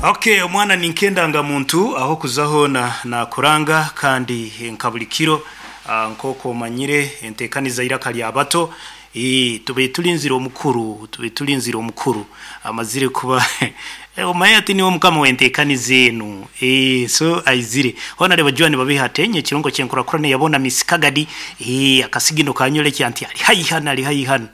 Okay, omwana ninkendanga muntu aho kuzaho na nakuranga kandi nka buli kiro, nk'oku omanyire enteekaniza iraka lya bato. Tube tulinzire omukuru, tube tulinzire omukuru amazire kuba omanye ati niwe mukama w'enteekaniza enu. So aizire hoona reba Joan Babiha atenye ekirongo kyenkurakurana yabona Miss Kagadi, akasigino kanyolekya nti ali haihi hanu, ali haihi hanu.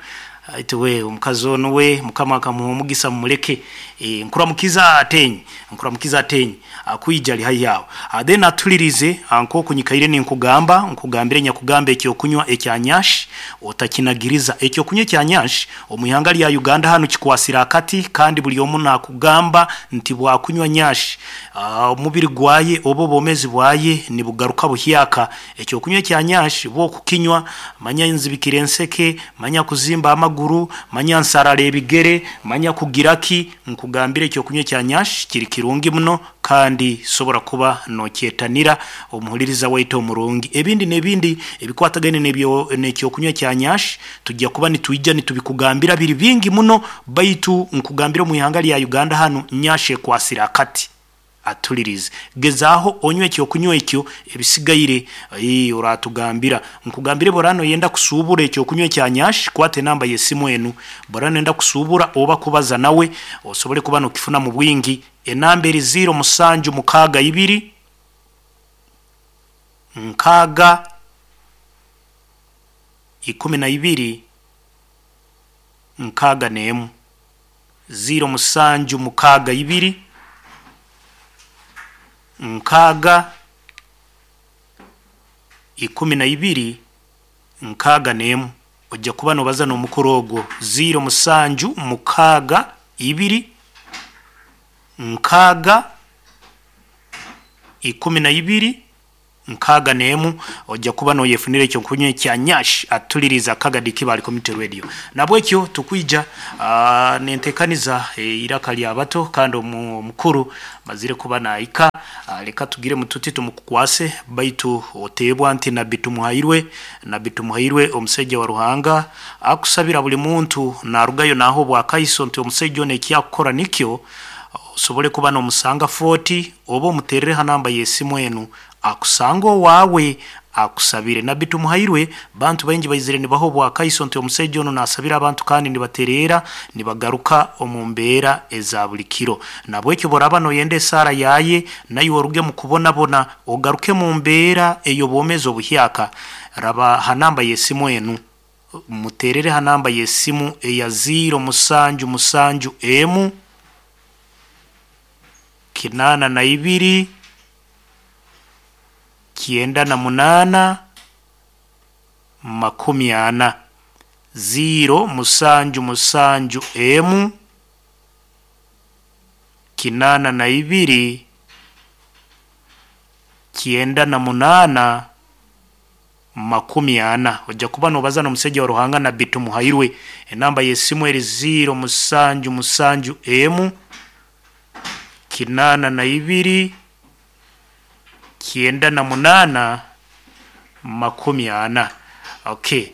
Aitu we omukazi onu we mukama akamuha omugisa, mumuleke. Nkuramukiza atenyi, nkuramukiza atenyi akwija ali haihi aho. Then atulirize nk'oku nyikaire ninkugamba, nkugambire nyakugamba ekyokunywa ekya nyash otakinagiriza. Ekyokunywa ekya nyash omu ihanga lya Uganda hanu kikwasire akati, kandi buli omu nakugamba nti bwakunywa nyash, omubiri gwaye oba obwomezi bwaye nibugaruka buhyaka. Ekyokunywa ekya nyash bwokukinywa manya nzibikire enseke, manya kuzimba amaguru, manya nsarara ebigere, manya kugira ki, nkugambire ekyokunywa ekya nyash kiri kirungi muno kandi sobora kuba nokyetanira omuhuliriza waitu omurungi. Ebindi n'ebindi ebikwatagaine n'ebyo n'ekyokunywa ekya nyash tujja kuba nitwija nitubikugambira biri bingi muno, baitu nkugambire omu ihanga lya Uganda hanu nyash ekwasire akati. Atulirize, gezaaho onywe ekyokunywa ekyo, ebisigaire oratugambira. Nkugambire bora noyenda kusuubura ekyokunywa ekya nyash, kwata enamba y'esimu enu. Bora noyenda kusuubura oba kubaza nawe osobole kuba nokifuna mu bwingi. Enamba eri 0 musanju mukaaga ibiri nkaaga 12 61, 0 musanju mukaaga ibiri nkaaga 12 61. Ojja kuba nobaza n'omukuru ogwo 0 musanju mukaaga ibiri nkaaga 12 61. Ojja kuba noyefunira ekyokunywa ekya nyash. Atuliriza Kagadi Kibali Community Radio. Nabwekyo tukwija nentekaniza iraka lya bato kandi omukuru mazire kuba naika. Leka tugire mututi tumukukwase, baitu oteebwa nti Nabbi Tumuhairwe, Nabbi Tumuhairwe omusaija wa Ruhanga akusabira buli muntu narugayo naho obwakaiso nti omusaija ono ekyakukora nikyo osobole kuba nomusanga 40 oba omuterere ha namba y'esimu enu akusanga owaawe akusabire. Nabbi Tumuhairwe bantu baingi baizire nibaha obwakaiso nti omusaija ono nasabira abantu kandi nibatereera nibagaruka omu mbeera eza buli kiro. Nabwekyo boraba noyenda esaara yaye naiwe oruge mu kubonabona ogaruke mu mbeera ey'obwomezi obuhyaka, raba ha namba y'esimu enu, muterere ha namba y'esimu eya 0 musanju musanju emu 82 98 40, 0 musanju musanju emu 82 98 40. Ojja kuba nobaza n'omusaija wa Ruhanga Nabbi Tumuhairwe. Enamba y'esimu eri 0 musanju musanju emu 82 98 40. Okay.